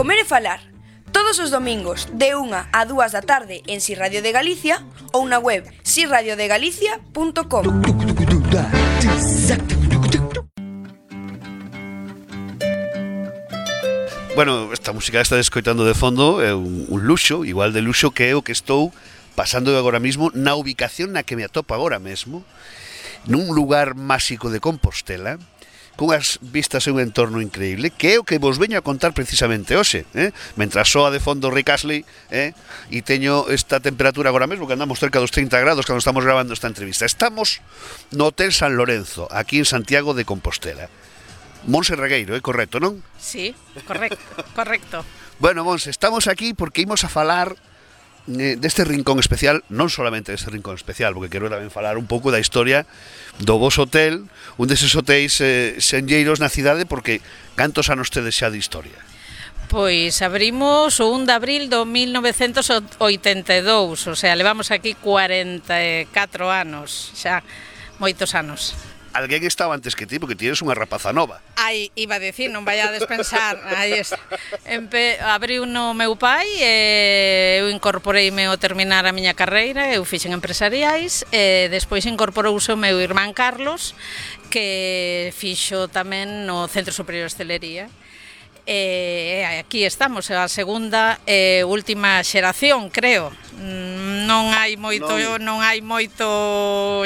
Comer e falar. Todos os domingos de 1 a 2 da tarde en Si Radio de Galicia ou na web siradiodegalicia.com. Bueno, esta música está escoitando de fondo é un luxo, igual de luxo que é o que estou pasando agora mesmo na ubicación na que me atopo agora mesmo, nun lugar máxico de Compostela, cunhas vistas e un entorno increíble, que é o que vos veño a contar precisamente hoxe, mentras soa de fondo Rick Astley, e teño esta temperatura agora mesmo, que andamos cerca dos 30 grados cando estamos grabando esta entrevista. Estamos no Hotel San Lorenzo, aquí en Santiago de Compostela. Monse Regueiro, é correcto, non? Sí, correcto. Bueno, Monse, estamos aquí porque imos a falar deste rincón especial, non solamente deste rincón especial, porque quero tamén falar un pouco da historia do vos hotel, un deses hotéis senlleiros na cidade, porque cantos anos tedes xa de historia? Pois abrimos o 1 de abril do 1982, o sea, levamos aquí 44 anos, xa moitos anos. Alguén estaba antes que ti, porque tienes unha rapaza nova. Ai, iba a decir, non vai a despensar. Abriu no meu pai, eu incorporeime ao terminar a miña carreira, eu fixen empresariais, e despois incorporouse o meu irmán Carlos, que fixo tamén no Centro Superior de Hostelería. Aquí estamos, a segunda e última xeración, creo. Non hai moito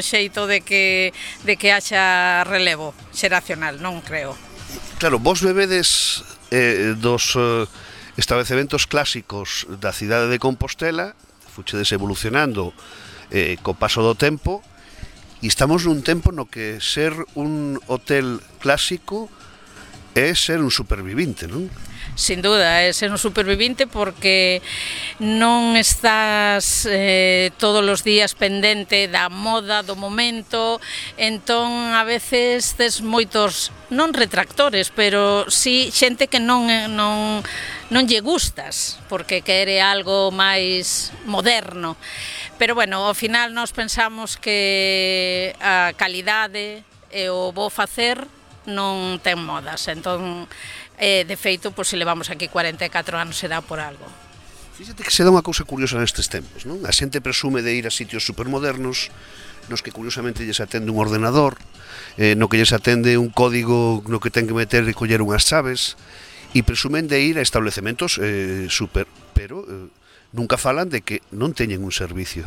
xeito de que haxa relevo xeracional, non creo. Claro, vos bebedes dos establecementos clásicos da cidade de Compostela, fuchedes evolucionando co paso do tempo, e estamos nun tempo no que ser un hotel clásico é ser un supervivinte, non? Sin duda, é ser un supervivinte porque non estás todos os días pendente da moda, do momento, entón a veces tes moitos, non retractores, pero sí xente que non lle gustas, porque quere algo máis moderno. Pero bueno, ao final nós pensamos que a calidade e o bo facer non ten modas, entón de feito, pois se levamos aquí 44 anos será por algo. Fíxate que se dá unha cousa curiosa nestes tempos, non? A xente presume de ir a sitios supermodernos nos que curiosamente lles atende un ordenador, no que lles atende un código no que ten que meter e coller unhas chaves, e presumen de ir a establecementos pero nunca falan de que non teñen un servicio.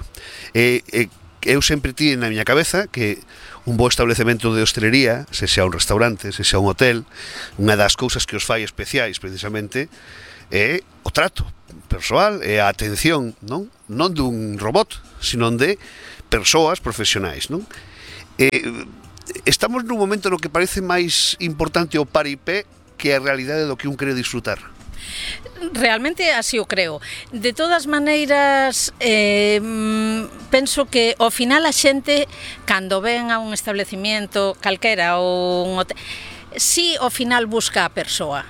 Eu sempre tive na miña cabeza que un bo establecemento de hostelería, se xa un restaurante, se xa un hotel, unha das cousas que os fai especiais precisamente é o trato persoal e a atención, non dun robot, sino de persoas profesionais, non? Estamos nun momento no que parece máis importante o paripé que a realidade do que un quere disfrutar. Realmente así o creo. De todas maneiras, penso que ao final a xente, cando ven a un establecimiento calquera ou un hotel, si ao final busca a persoa.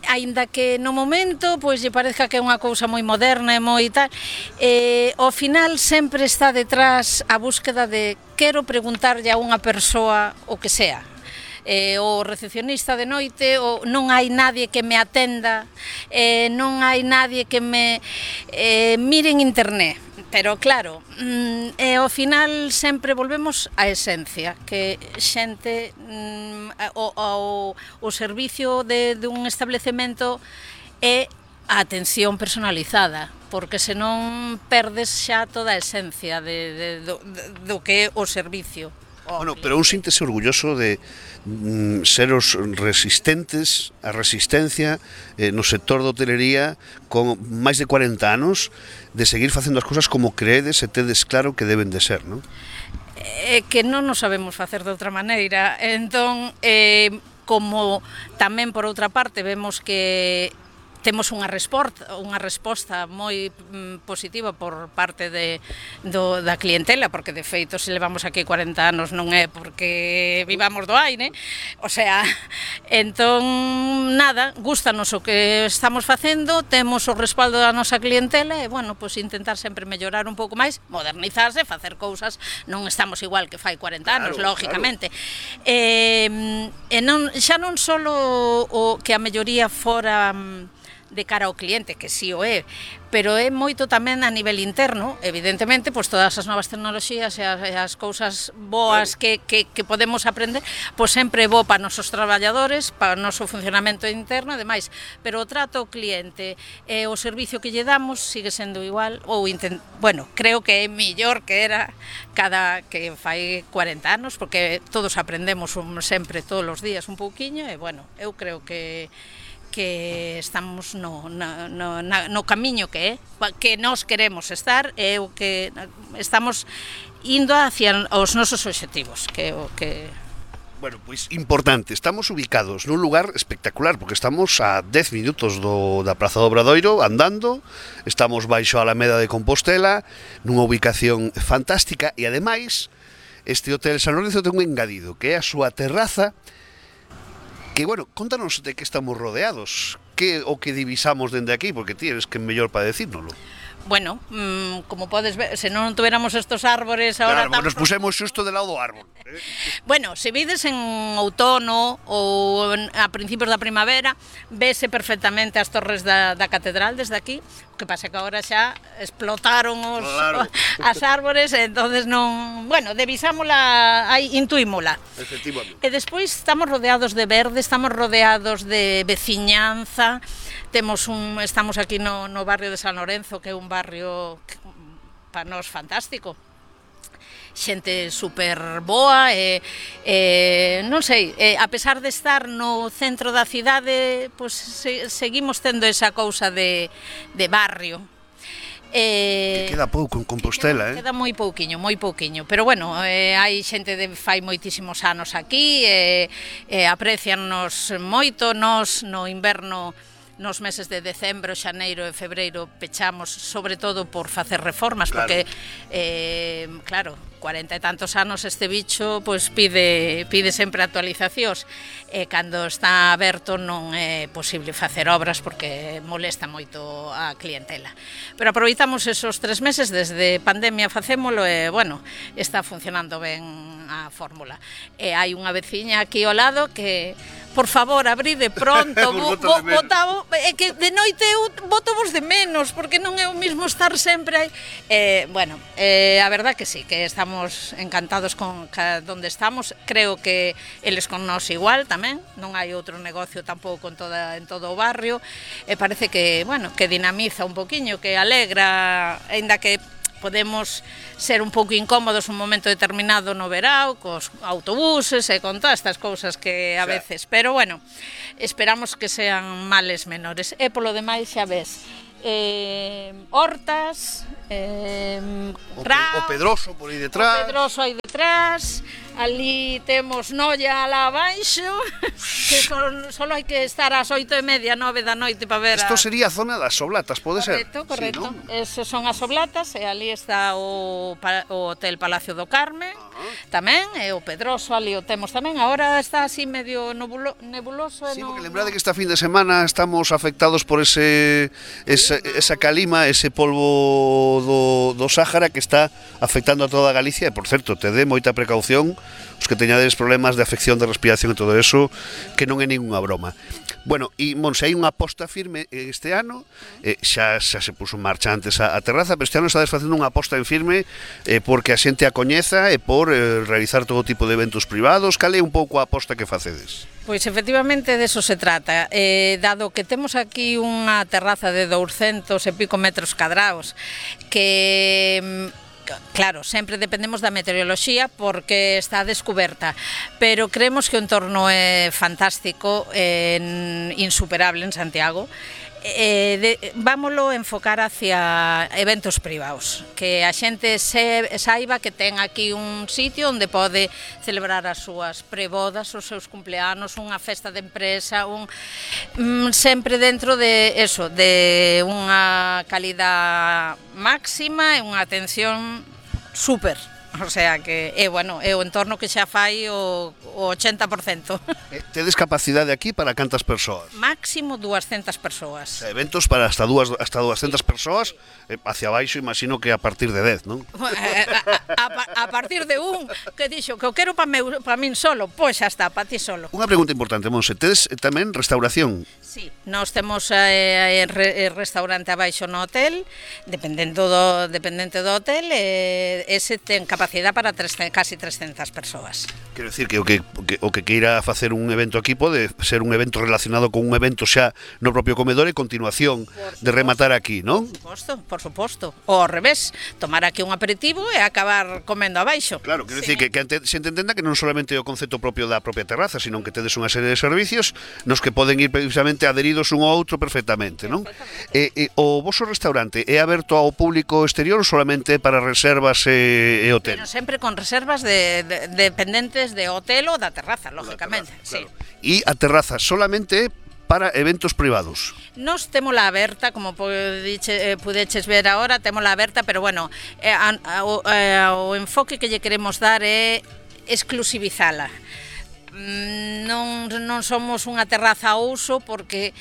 Aínda que no momento pois lle parezca que é unha cousa moi moderna e moi tal, ao final sempre está detrás a búsqueda de quero preguntarlle a unha persoa o que sea. O recepcionista de noite, ou non hai nadie que me atenda, non hai nadie que me mire en internet. Pero claro, ao final sempre volvemos á esencia, que xente, o servicio dun establecemento é a atención personalizada, porque senón perdes xa toda a esencia do que é o servicio. Bueno, pero un síntese orgulloso de ser os resistentes, a resistencia no sector da hotelería con máis de 40 anos, de seguir facendo as cousas como creedes e tedes claro que deben de ser, non? Que non nos sabemos facer de outra maneira, entón, como tamén por outra parte vemos que temos unha resposta moi positiva por parte da clientela, porque de feito se levamos aquí 40 anos non é porque vivamos do aire, o sea, entón nada, gústanos o que estamos facendo, temos o respaldo da nosa clientela e, bueno, pois intentar sempre mellorar un pouco máis, modernizarse, facer cousas, non estamos igual que fai 40 anos, lógicamente. Xa non só o que a melloría fora de cara ao cliente, que si o é, pero é moito tamén a nivel interno, evidentemente, pois todas as novas tecnoloxías e as cousas boas que podemos aprender, pois sempre é bo para nosos traballadores, para o noso funcionamento interno, ademais, pero o trato ao cliente e o servicio que lle damos sigue sendo igual, ou bueno, creo que é millor que era que fai 40 anos, porque todos aprendemos sempre, todos os días, un pouquiño, e, bueno, eu creo que estamos no camiño que nós queremos estar e o que estamos indo hacia os nosos obxectivos, que o que... Bueno, pois importante, estamos ubicados nun lugar espectacular, porque estamos a 10 minutos da Praza do Obradoiro andando, estamos baixo a Alameda de Compostela, nunha ubicación fantástica, e ademais este Hotel San Lorenzo ten un engadido, que é a súa terraza, que, bueno, contanos de que estamos rodeados, o que divisamos dende aquí, porque ti eres que mellor para decírnoslo. Bueno, como podes ver, se non tuéramos estos árbores ahora... Claro, nos pusemos xusto de lado do árbol. Bueno, se vides en outono ou a principios da primavera, vese perfectamente as torres da catedral desde aquí. O que pasa que agora xa explotaron as árbores, entonces non... Bueno, devisámola, intuímola. Efectivamente. E despois estamos rodeados de verde, estamos rodeados de veciñanza. Estamos aquí no barrio de San Lorenzo, que é un barrio para nós fantástico. Xente super boa e non sei, a pesar de estar no centro da cidade, pois seguimos tendo esa cousa de barrio. Que queda pouco en Compostela, Queda moi pouquiño, pero bueno, hai xente de fai moitísimos anos aquí, apreciannos moito, nos no inverno, nos meses de decembro, xaneiro e febreiro pechamos, sobre todo por facer reformas, claro. Porque, claro, 40 e tantos anos este bicho pois pide sempre actualizacións, e cando está aberto non é posible facer obras porque molesta moito a clientela. Pero aproveitamos esos 3 meses, desde pandemia facémolo e, bueno, está funcionando ben a fórmula. E hai unha veciña aquí ao lado que, por favor, abride pronto, é que de noite eu botovos de menos, porque non é o mismo estar sempre aí. Bueno, a verdad que sí, que estamos encantados con donde estamos, creo que eles con nós igual tamén, non hai outro negocio tampouco en todo o barrio, e parece que, bueno, que dinamiza un poquiño, que alegra, aínda que podemos ser un pouco incómodos un momento determinado no verao, cos autobuses e con todas estas cousas que a veces, pero bueno, esperamos que sean males menores. E polo demais xa ves, hortas, o Pedroso por aí detrás. O Pedroso aí detrás, ali temos Noia alá abaixo, que só hai que estar ás 8:30, 9 da noite para ver. Isto sería a zona das Oblatas, pode ser? Correcto. Sí, eses son as Oblatas, e ali está o Hotel Palacio do Carme, tamén, e o Pedroso ali o temos tamén. Agora está así medio nebuloso. Sí, porque lembrade que esta fin de semana estamos afectados por esa calima, ese polvo do Sáhara que está afectando a toda Galicia, e, por certo, te dé moita precaución os que teñades problemas de afección de respiración e todo eso, que non é ninguna broma. Bueno, e Monse, hai unha aposta firme este ano, xa se puso en marcha antes a terraza, pero este ano estades facendo unha aposta en firme porque a xente a coñeza e por realizar todo tipo de eventos privados. Cal é un pouco a aposta que facedes? Pois efectivamente de eso se trata, dado que temos aquí unha terraza de 200 e pico metros cadrados, que claro, sempre dependemos da meteoroloxía porque está descuberta, pero creemos que o entorno é fantástico, insuperable en Santiago, Vámoslo enfocar hacia eventos privados, que a xente saiba que ten aquí un sitio onde pode celebrar as súas prebodas, os seus cumpleanos, unha festa de empresa, sempre dentro de eso, de unha calidad máxima e unha atención súper. O sea que é o entorno que xa fai o 80%. Tedes capacidade aquí para cantas persoas? Máximo 200 persoas. Eventos para hasta 200 persoas, hacia baixo imagino que a partir de 10, non? A partir de un que dixo que o quero para min solo, pois xa está, para ti solo. Unha pregunta importante, Monse, tedes tamén restauración? Sí, nós temos restaurante abaixo no hotel, dependente do hotel, ese ten capacidade para casi 300 persoas. Quero dicir que o que queira facer un evento aquí pode ser un evento relacionado con un evento xa no propio comedor e continuación de rematar aquí, non? Por suposto. Ou ao revés, tomar aquí un aperitivo e acabar comendo abaixo. Claro, quero dicir que se entenda que non solamente é o concepto propio da propia terraza, sino que tedes unha serie de servicios nos que poden ir precisamente adheridos un ao outro perfectamente, non? O voso restaurante é aberto ao público exterior ou solamente para reservas e hotel? Pero sempre con reservas dependentes de hotel ou da terraza, lógicamente. Claro. E a terraza solamente para eventos privados? Nos témola aberta, como pudeches ver agora, témola aberta, pero bueno, o enfoque que lle queremos dar é exclusivizala. Non somos unha terraza a uso porque,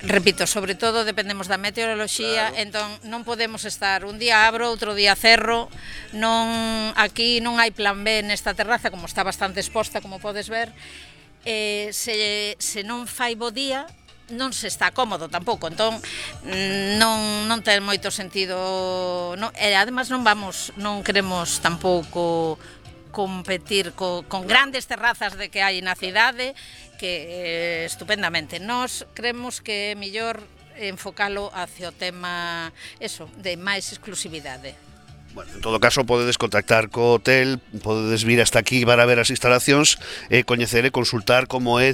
repito, sobre todo dependemos da meteoroloxía, claro. Entón non podemos estar un día abro, outro día cerro, aquí non hai plan B nesta terraza, como está bastante exposta, como podes ver, se non fai bo día, non se está cómodo tampouco, entón non ten moito sentido, e ademais non queremos tampouco competir con grandes terrazas de que hai na cidade, que estupendamente. Nós creemos que é mellor enfocalo hacia o tema de máis exclusividade. Bueno, en todo caso, podedes contactar co hotel, podedes vir hasta aquí para ver as instalacións e coñecer e consultar como é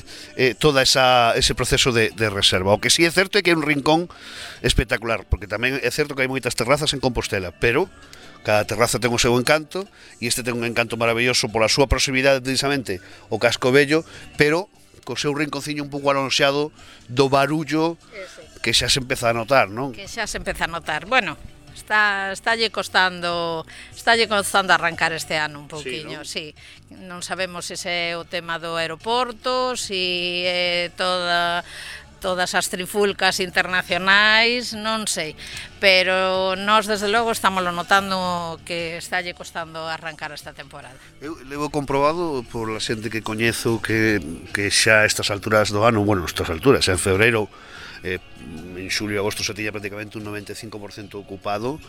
todo ese proceso de reserva. O que sí é certo é que é un rincón espectacular, porque tamén é certo que hai moitas terrazas en Compostela, pero cada terraza ten o seu encanto e este ten un encanto maravilloso pola súa proximidade precisamente o Casco Vello, pero co seu rinconciño un pouco alonxado do barullo que xa se empeza a notar, non? Que xa se empeza a notar. Bueno, Estálle costando arrancar este ano un pouquiño, sí. Non sabemos se é o tema do aeroporto, se é todas as trifulcas internacionais, non sei, pero nós desde logo estámoslo notando que estálle costando arrancar esta temporada. Eu levo comprobado por la xente que coñezo que xa a estas alturas do ano, bueno, estas alturas, en febreiro, en xulio e agosto se tiña prácticamente un 95% ocupado.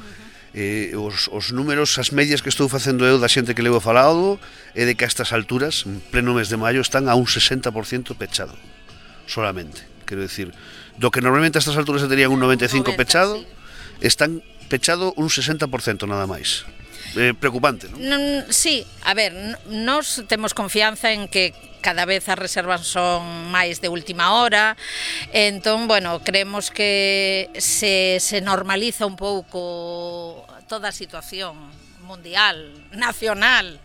Os números, as medias que estou facendo eu da xente que levo falado é de que a estas alturas, en pleno mes de maio, están a un 60% pechado solamente. Quero dicir, do que normalmente a estas alturas se terían un 95% pechado, están pechado un 60% nada máis. Preocupante, non? Sí, a ver, nós temos confianza en que cada vez as reservas son máis de última hora, entón, bueno, creemos que se normaliza un pouco toda a situación mundial, nacional,